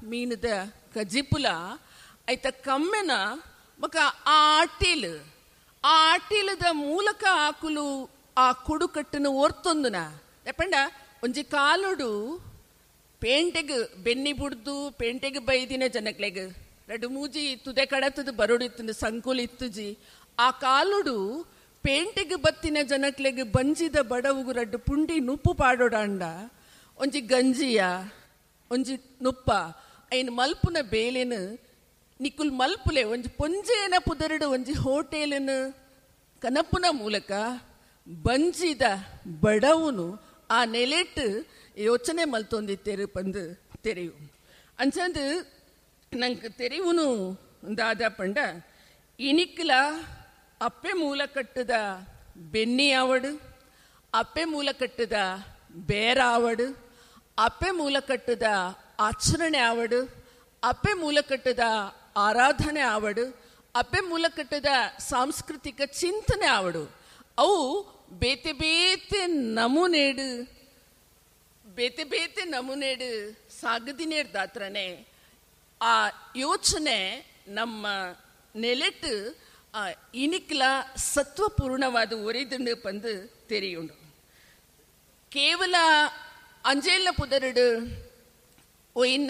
ಮೀನದ ಕಜಿಪುಲ ಐತ ಕಮ್ಮೆನ ಬೊಕ ಆ ಅಟ್ಟಿಲ್, ಆ ಅಟ್ಟಿಲದ ಮೂಲಕ ಆಕುಲು ಆ ಕುಡುಕಟ್ಟುನು ಒರ್ತೊಂದುನ ಎಪಂಡ ಒಂಜಿ ಕಾಲುಡು ಪೇಂಟೆಗ್ ಬೆನ್ನಿ ಬುಡ್ದು ಪೇಂಟೆಗ್ ಬೈದಿನ ಜನಕ್ಲೆಗ್ ರಡ್ಡ್ ಮೂಜಿ ತುದೆ ಕಡತದ ಬರೊಡಿತ್ತುಂಡು ಸಂಕುಲು ಇತ್ತುಜಿ. ಆ ಕಾಲುಡು ಪೇಂಟೆಗ್ ಬತ್ತಿನ ಜನಕ್ಲೆಗ್ ಬಂಜಿದ ಬಡವುಗು ರಡ್ಡ್ ಪುಂಡಿ ನುಪ್ಪು ಪಾಡೊಡಾಂಡ ಒಂಜಿ ಗಂಜಿಯ ಒಂಜಿ ನುಪ್ಪ ಐನ್ ಮಲ್ಪುನ ಬೇಲೆನ್ ನಿಕುಲ್ ಮಲ್ಪುಲೆ ಒಂಜಿ ಪೊಂಜೇನ ಪುದರುಡು ಒಂಜಿ ಹೋಟೆಲ್ನ್ ಕನಪುನ ಮೂಲಕ ಬಂಜಿದ ಬಡವುನು ಆ ನೆಲೆಟ್ ಯೋಚನೆ ಮಲ್ತೊಂದಿತ್ತೇರು ಪಂದು ತೆರೆಯು. ಅಂಚಂದು ನಂಗೆ ತೆರೆಯುನು ದಾದ ಪಂಡ ಇನಿಕ್ಲ ಅಪ್ಪೆ ಮೂಲ ಕಟ್ಟದ ಬೆನ್ನಿ ಆವಡು, ಅಪ್ಪೆ ಮೂಲ ಕಟ್ಟದ ಬೇರಾವಡು, ಅಪ್ಪೆ ಮೂಲ ಕಟ್ಟದ ಆಚರಣೆ ಆವಡು, ಅಪ್ಪೆ ಮೂಲ ಕಟ್ಟದ ಆರಾಧನೆ ಆವಡು, ಅಪ್ಪೆ ಮೂಲ ಕಟ್ಟದ ಸಾಂಸ್ಕೃತಿಕ ಚಿಂತನೆ ಆವಡು, ಅವು ಬೇತೆ ಬೇತೆ ನಮೂನೇಡು ಬೇತೆ ಬೇತೆ ನಮೂನೇಡು ಸಾಗದಿನೇರ್ದಾತ್ರನೆ ಆ ಯೋಚನೆ ನಮ್ಮ ನೆಲೆಟ್ಟು ಇನಿಕ್ಲ ಸತ್ವಪೂರ್ಣವಾದ ಒರಿದುಂಡು ಪಂದು ತೆರಿಯುಂಡು. ಕೇವಲ ಅಂಜೇಲ ಪುದರುಡು ಒಯಿನ್ನ